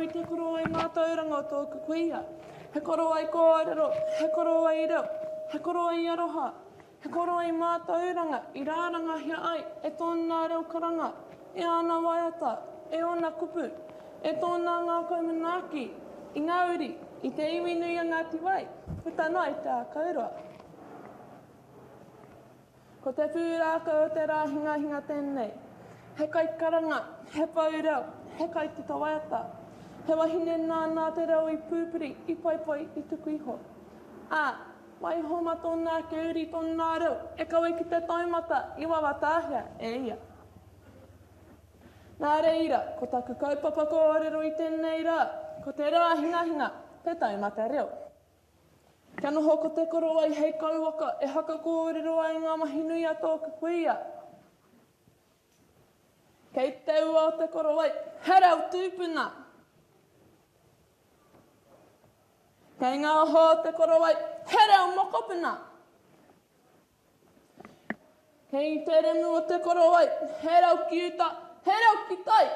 i te korowai mātauranga o tōku kuia. He korowai kōrero, he korowai reo, he korowai aroha, he korowai mātauranga i rārangahia ai e tōna reo karanga, e āna waiata, e ōna kupu, e tōna ngākau manaaki i ngā uri, i te iwi nui a Ngāti Wai, puta noa i Te Ākauroa. Ko te pūrākau o te rā hingahinga tēnei. He kaikaranga, he pou reo, he kaitito waiata. He wahine nāna te reo i pūpuri, i poipoi, i tuku iho. Ā, waiho mā tōna ake uri tōna reo e kawe ki te taumata i wawatahia e ia. Nā reira, ko taku kaupapa kōrero i tēnei rā, ko te rā hingahinga, te taumata reo. Kia noho ko te korowai hei kauwaka e haka kōrero ai ngā mahi nui a tōku kuia. Kei te ua o te korowai, he reo tūpuna. Kei ngā oho o te korowai, he reo mokopuna. Kei te remu o te korowai, he reo ki uta, he reo ki tai.